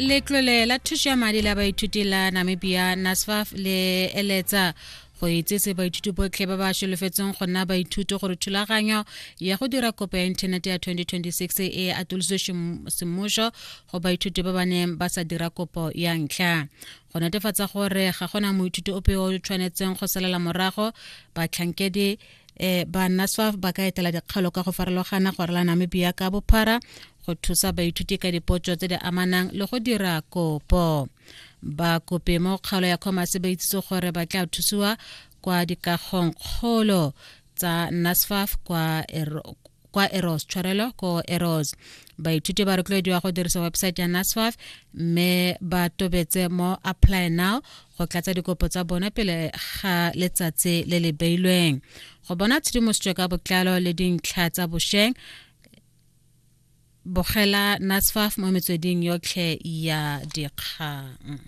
Letlole la thuso ya madi la baithuti la Namibia, NSFAF, le eletsa go itsese baithuti botlhe ba ba solofetseng go nna baithuti gore thulaganyo ya go dira kopo ya inthanete ya 2026 e atolositswe semmušo go baithuti ba ba neng ba sa dira kopo ya ntlha. Go netefatsa gore ga gona moithuti ope yo o tshwanetseng go salela morago, batlhankedi eh, ba NSFAF ba ka etela dikgalo ka go farologana go rala Namibia ka bophara go thusa baithuti ka dipotso tse di amanang le go dira kopo. Bakopi mo kgaolo ya Commerce ba itsise gore ba tla thusiwa kwa dikagong kgolo tsa NSFAF kwa kwa Eros, tshwarelo ko Eros. Baithuti ba rotloediwa go dirisa website ya NSFAF mme ba tobetse mo apply now go tlatsa dikopo tsa bone pele ga letsatsi le le beilweng. Go bona tshedimosetso ka botlalo le dintlha tsa bosheng, bogela NSFAF mo metsweding yotlhe ya dikgang.